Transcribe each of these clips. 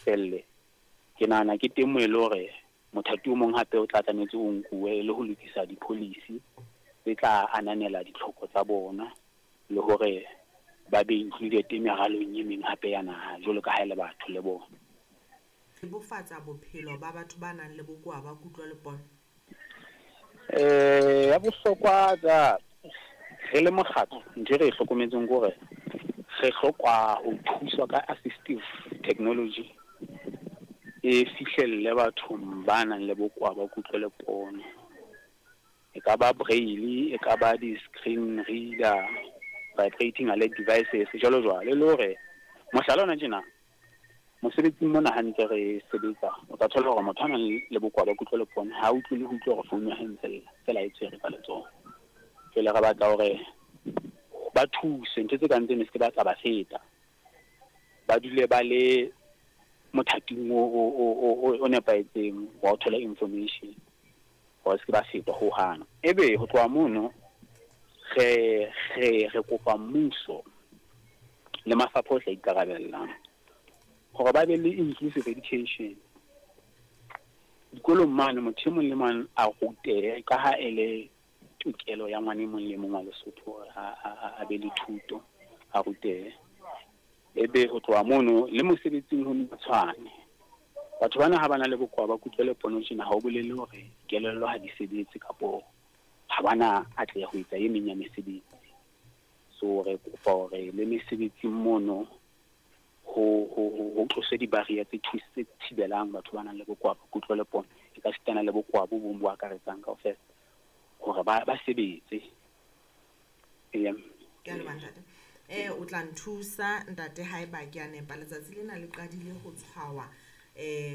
lefelle, ke nahana ke teng moo e le hore mothati o mong hape o tla tlametse o nkuwe e le ho lokisa di-policy tse tla ananela ditlhoko tsa bona le hore ba be included meralong e meng hape ya naha jwalo ka ha e le batho le bona. Bebofatsa bophelo ba batho ba nang le bokowa ba kutlo le pono. Ya bohlokwa tsa re le mokgatlo, ntho e re e hlokometseng ke hore re hloka ho thuswa ka assistive technology e fihlelle bathong ba nang le bokowa ba kutlo le pono. E ka ba braille, e ka ba di-screen reader, vibrating alert devices, jwalo jwalo. E le hore mohlala ona tjena, mosebetsing mona ha ntse re sebetsa, o tla thola hore motho a nang le bokowa ba kutlo le pono ha utlwe le ho utlwa hore founu ya hae ntse lla, feela e tshwere ka letsoho. Jwale re batla hore ba thuse ntho tse kang tseno se ke ba tsa ba feta, ba dule ba le mothating o nepahetseng wa ho thola information, hore se ke ba fetwa hohang. Ebe ho tloha mono re kopa mmuso le mafapha ohle a ikarabellang hore ba be le inclusive education dikolong mane, motho e mong le mang a rutehe ka ha e le tokelo ya ngwana e mong le mong wa Lesotho hore a be le thuto, a rutehe. Ebe ho tloha mono le mosebetsing ho tshwane. Batho bana ha ba na le bokowa ba kutlo le pono tjena, ha o bolele hore kelello ha di sebetse kapo ha bana atleha ho etsa e meng ya mesebetsi. So re kopa hore le mesebetsing mono ho tloswe di-barrier tse tse thibelang batho ba nang le bokowa ba kutlo le pono, e ka sitana le bokowa bo bong bo akaretsang kaofela, hore ba sebetse. Ke a leboha ntate. O tla nthusa ntate haeba ke a nepa, letsatsi lena le qadile ho tshwawa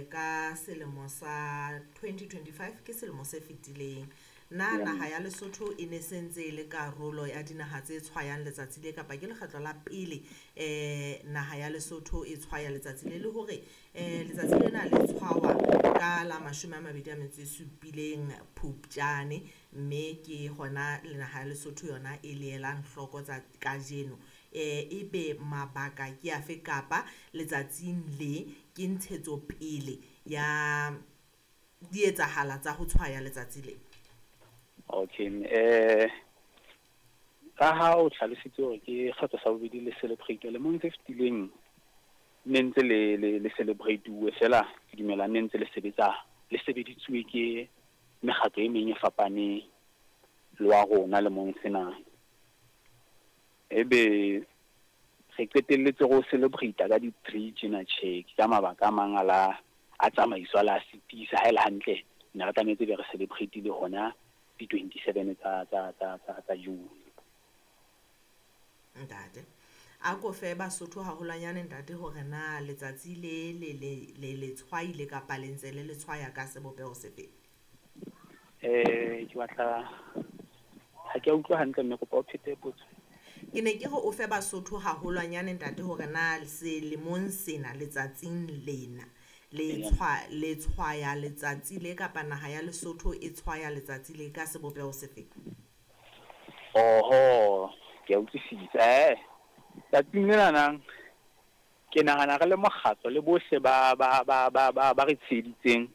ka selemo sa 2025, ke selemo se fetileng. Na naha ya Lesotho e ne sentse e le karolo ya dinaha tse tshwayang letsatsi le, kapa ke lekgetlo la pele naha ya Lesotho e tshwaya letsatsi le, le hore letsatsi lena le tshwawa ka la 27 Phupjane, mme ke hona le naha ya Lesotho yona e le elang hloko tsa kajeno. Ebe mabaka ke afe, kapa letsatsing le ke ntshetsopele ya dietsahala tsa ho tshwaya letsatsi le? Okay, ka ha o hlalositse hore ke kgetho sa bobedi le celebrate, lemong se fetileng ne ntse le celebrate-uwe fela, ke dumela ne ntse le sebetsa, le sebeditsuwe ke mekgatlo e meng e fapaneng le wa rona lemong sena. Ebe re qetelletse re o celebrate ka di-3 tjena, tjhe, ke ka mabaka a mang a la a tsamaiso a la sitisa. Ha e le hantle ne re tlametse be re celebrate-ile hona di-27 tsa June. Ntate, a ko fe Basotho haholwanyane ntate hore na letsatsi le le le tshwaile kapa le ntse le le tshwaya ka sebopeho sefe? Ke batla, ha ke a utlwa hantle mme, kopa o phete potso. Ke ne ke re o fe Basotho haholwanyane ntate hore na selemong sena letsatsing lena le tshwaya letsatsi le, kapa naha ya Lesotho e tshwaya letsatsi le ka sebopeho sefe? Oho, ke a utlwisisa. Tsatsing lena nang ke nahana re le mokgatlo le bohle ba re tsheheditseng,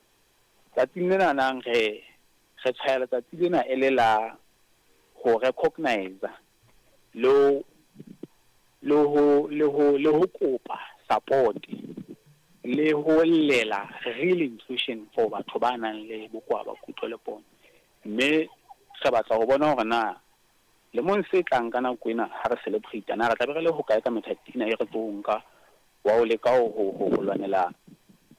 tsatsing lena nang re tshwaya letsatsi lena e le la ho recognize le ho kopa support le ho llela real inclusion for batho ba nang le bokowa ba kutlo le pono. Mme re batla ho bona hore na lemong se tlang ka nako ena ha re celebrate, na re tla be re le hokae ka methati ena e re tlo nka wa ho leka ho lwanela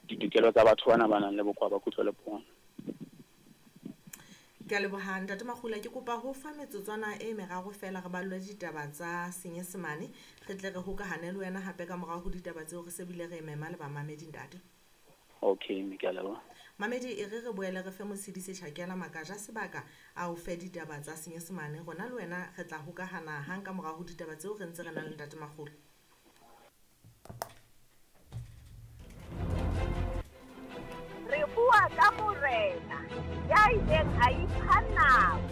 ditokelo tsa batho bana ba nang le bokowa ba kutlo le pono. Ke a leboha ntate Makgula, ke kopa ho fa metsotswana e meraro fela re ballwe ditaba tsa Senyesemane, re tle re hokahane le wena hape ka morao ho ditaba tseo re se bile re mema le bamamedi ntate. Okay, mme ke a leboha. Mamedi, e re re boele re fe Motshidisi Tjhakela Makaja sebaka a o fe ditaba tsa Senyesemane, rona le wena re tla hokahana hang ka morao ho ditaba tseo re ntse re nang le ntate Makgula. Re bua ka morena ya ileng a ipha nako.